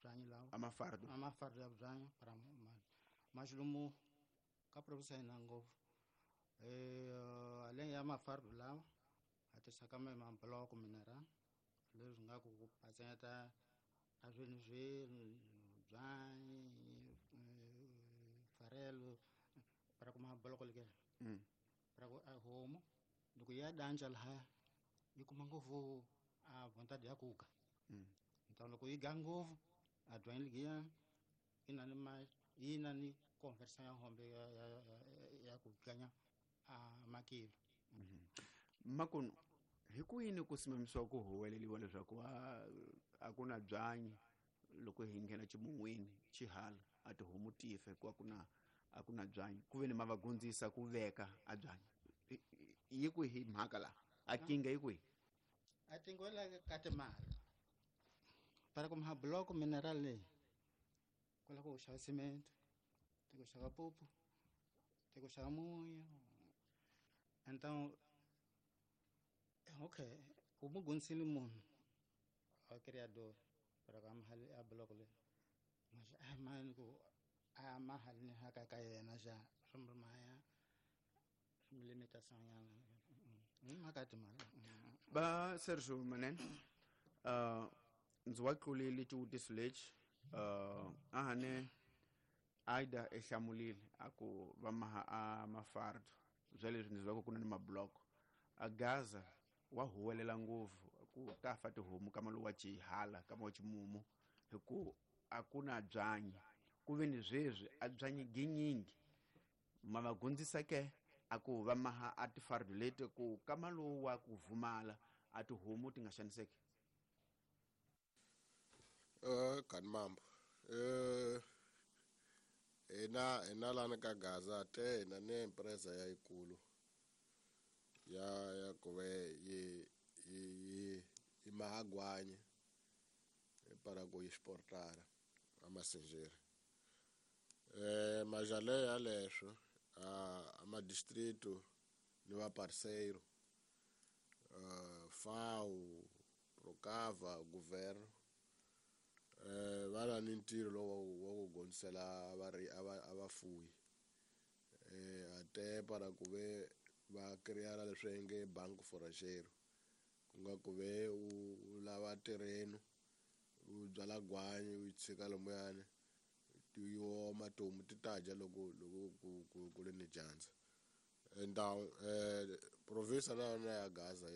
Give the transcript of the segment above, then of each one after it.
byanyi lawa. A mafardo. A mafardo ya byanyi para mas lomu ka province ya hina ngopfu aleng ya mafardo lawa a tirhisaka mabloko mineral leswi nga ku patsanyeta a swilo swi byanyi farelo para ku mabloko leke para ku a homu loko ya danja lahaya yi kuma ngopfu a vontade ya kuga. Então loko yi ga ngopfu a byanyi ligiya yi na ni ma yi na ni conversion ya hombe ya ku ganya a makilo. Makunu hi ku yini ku simamisiwa ku huweleliwa leswaku a ku na byanyi loko hi nghena ximun'wini xihala a tihomu ti fa hikuva a ku na byanyi ku ve ni ma va gondzisa ku veka a byanyi yi kwihi mhaka laha a kinga yi kwihi? A tingwela ka timali para ku mabloko mineral leyi ku lava ku xava cement ti ku xava pupu ti ku xava munyu. Então okay u mu gondzisile munhu a criador para ka mahali a bloco leyi mas a mani ku a mahali ni haka ka yena xa swi maya limitação nyana mhaka ya timali. Va Sergio Manene, ndzi wa tlulile xivutiso lexi a hane Aida e hlamulile a ku va maha a mafardo bya leswi ndzi zwa ku na ni mabloko a Gaza wa huwelela ngopfu ku ta fa tihomu kama lowa xihala kama wa ximumu hi ku a ku na byanyi ku ve ni sweswi a byanyi ginyingi ma va gondzisa ke a ku va maha a tifardo leti ku kama lowu wa ku vumala a tihomu ti nga xaniseki. Kani mambo hina lani ka Gaza te hina ni empresa ya yikulu ya ku ve yi mahagwanyi para ku yi exportara a masenjeri majale ya leswo a ma distrito ni va parceiro FAO Procava governo va na ni ntirho lowu wa ku gondzisela a vafuyi ate para ku ve va creara leswi nge banco forrageiro ku nga ku ve u lava terreno u byala gwanyi u yi tshika lomuyani ti oma tihomu ti ta dya loko loko ku ri ni dyandza. Então province na yona ya Gaza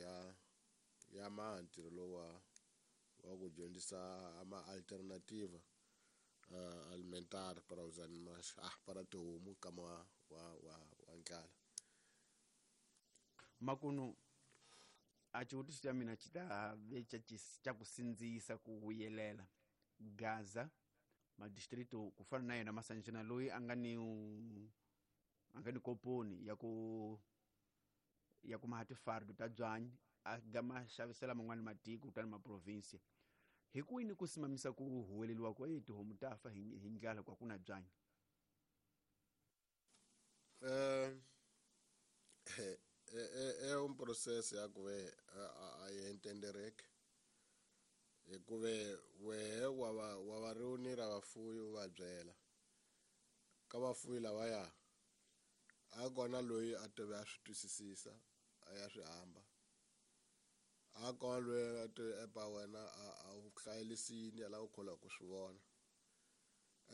ya maha ntirho lowu wa ku dyondzisa ama alternativa alimentar para os animais para tihomu kama wa ndlala. Makunu a xivutiso xa mina xi ta ve xa ku sindzisa ku vuyelela Gaza madistrito ku fana na yena Masanjana loyi a nga ni koponi ya ku maha tifardo ta byanyi a ga ma xavisela man'wani matiko kutani ma province hi ku yini ku simamisa ku huweleliwa ku tihomu ta fa hi ndlala ku a ku na byanyi? É processo ya ku ve a yi entendereke hikuve wehe wa va reunir vafuyi u va byela ka vafuyi lavaya a kona loyi a tive a swi twisisisa a ya swi hamba a kona loyi a tive epa wena a wu hlayelisini a lava ku kholwa ku swi vona.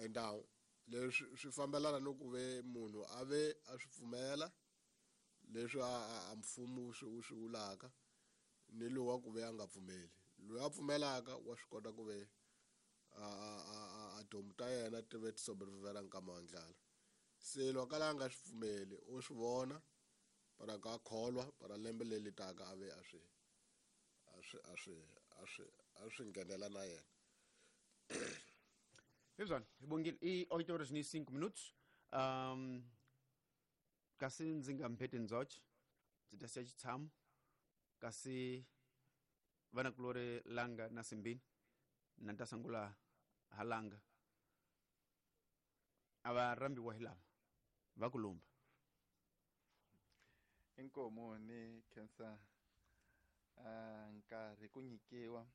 Então leswi swi fambelana ni ku ve munhu a ve a swi pfumela leswi a mfumo wu swi vulaka ni lowu wa ku ve a nga pfumeli. Loyi a pfumelaka wa swi kota ku ve a tihomu ta yena ti ve ti sobrevivela nkama wa ndlala. Se loko a nga swi pfumeli u swi vona para ka kholwa para lembe leri taka a ve a swi a swi a swi a swi a swi nghenela na yena. Hezwana hi bongile i 8 horas ni 5 minutos. Kasi ndzi nga mpheti ndzoche ndzi ta siya xitshamo kasi vanakulori Langa na Simbini na ta sungula ha Langa a va rambiwa hi lava va ku lumba. Inkomu ni khensa nkarhi ku nyikiwa.